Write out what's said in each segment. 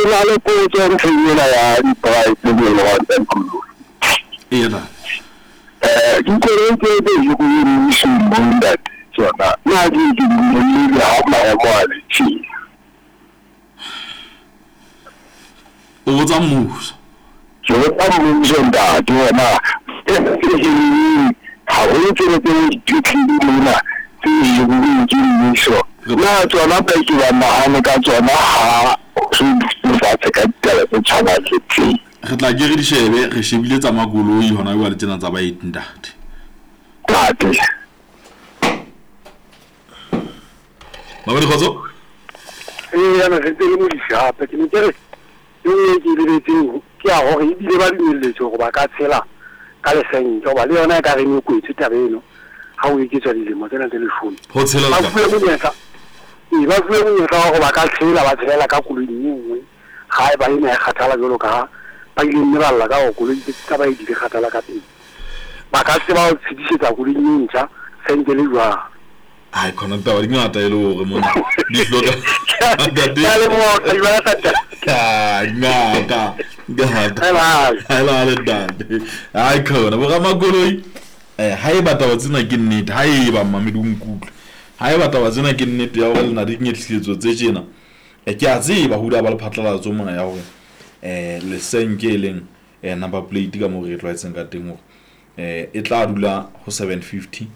na le potso ntlheng ena ya di-price mono wa tsa dikoloi. Eya ntate. Dikoloi tse tse hiruweng mmusong mo ntate tsona na di ke di nyollelwe ha maemo a le tjena? O botsa mmuso. Ke botsa mmuso ntate hore na tsena tse hiruweng haholo tsena tse dipetlele mona tse hiruweng ke mmuso na tsona ba ke ba nahane ka tsona ha re dutse fatshe ka ditaba tse tshwanang le tsee? Re tla ke re di shebe, re shebile tsa makoloi hona jwale tsena tsa baeti ntate. Ntate. Mamedi kgotso. Ee, yana re ntse le Modise hape. Ke ne ke re e nngwe e ke e lebetseng ke ya hore ebile ba dumelletswe hore ba ka tshela ka lesenke hoba le yona e ka reng e kwetswe taba eno ha o eketswa dilemo tsena tse leshome. Ho tshela Ba le fuwe monyetla, ee, ba fuwe monyetla wa hore ba ka tshela ba tshelela ka koloing e nngwe ha eba ena e kgathala jwalo ka ha ba ile mme ba lla ka hore koloi tsa baeti di kgathala ka pele. Ba ka tseba ho tshedisetsa koloing e ntjha senke le jwang. Hai khona ditaba di ngata e le hore mona di hloka ntate. Ke a leboha, o tla di Ah, ngata ngata. Helal. Helal ntate. Hai khona bo ramakoloi haeba taba tsena ke nnete, haeba mmamedi o nkutlwe, haeba taba tsena ke nnete ya hore le na le dinyehlisetso tse tjena, ke a tseba ho ile ba le phatlalatso mona ya hore lesenke e leng number plate ka moo re e tlwaetseng ka teng hore e tla dula ho 750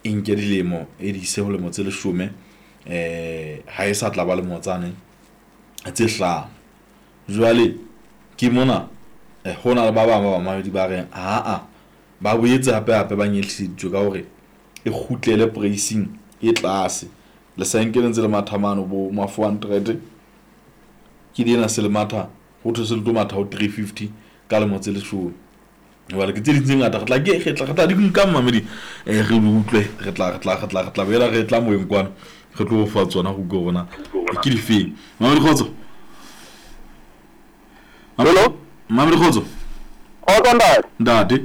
e nke dilemo e di ise ho lemo tse leshome, ha e sa tla ba lemo tsane tse hlano. Jwale ke mona ho na le ba bang ba bamamedi ba reng aa ba boetse hape hape ba nyehliseditswe ka hore e kgutlele pricing e tlase. Lesenke le ntse le matha mane bo ma 400 ke di ena se le matha ho thwe se le tlo matha ho 350 ka lemo tse leshome. Jwale ke tse ding tse ngata re tla ke re tla re tla di nka mmamedi re di utlwe re tla re tla re tla re tla boela re tla moyeng kwana re tlo fa tsona go utlwe rona ke difeng. Mamedi kgotso. Hello? Mamedi kgotso. Kgotso ntate. Ntate.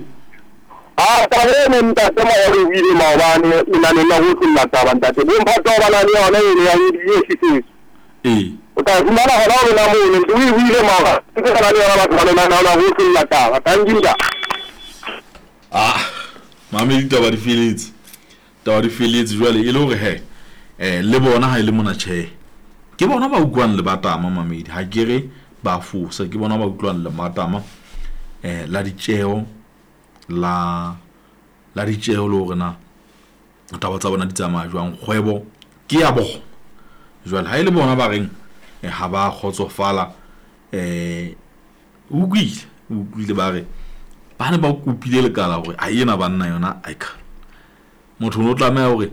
Ah, taba eno ntate Maolo o buile maobane lenaneng la ho tlolla taba ntate. Bomphato ba na le yona eno ya nyehlisetso. Ee. O tla fumana hona ho lona mono ntse o e buile maobane. Ntse ba na le yona batho ba lenaneo la ho tlolla taba. Thank you ntate. Ah, mamedi taba di feletse. Taba di feletse jwale e le hore he le bona ha e le mona tjhe. Ke bona ba utlwang lebatama mamedi ha ke re ba fosa, ke bona ba utlwang lebatama la ditjeho la la ditjeho le hore na taba tsa bona di tsamaya jwang, kgwebo ke ya bona. Jwale ha e le bona ba reng ha ba kgotsofala o utlwile, o utlwile ba re ba ne ba kopile lekala hore a ena banna yona aika. Motho o no tlameha hore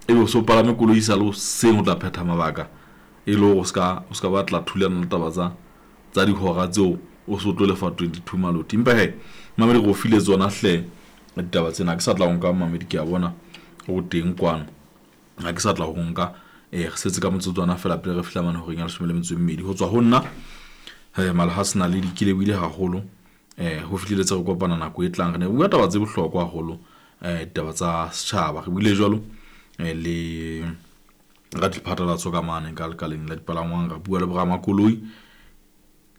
ebe o so palame koloi sa le hoseng o tla phetha mabaka e le hore o ska o ska batla thulana le taba tsa tsa dihora tseo o so tlo lefa 22 maloti. Empa he mamedi re o file tsona hle ditaba tsena, ha ke sa tla ho nka mamedi ke a bona o teng kwano. Ha ke sa tla ho nka re setse ka motsotswana fela pele re fihla mane horeng ya 12 ho tswa ho nna Malehase Naledi ke lebohile haholo ho fihleletse re kopana nako e tlang. Re ne re bua taba tse bohlokwa haholo ditaba tsa setjhaba. Re buile jwalo le radiphatlalatso ka mane ka lekaleng la dipalangwang, ra bua le boramakoloi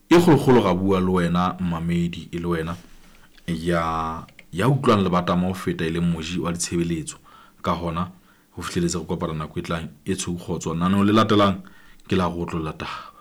e kgolokgolo, ra bua le wena mmamedi e le wena ya ya utlwang lebatama ho feta e leng moji wa ditshebeletso. Ka hona ho fihleletse re kopana nako e tlang e tshweu kgotso. Lenaneo le latelang ke la go otlolla taba.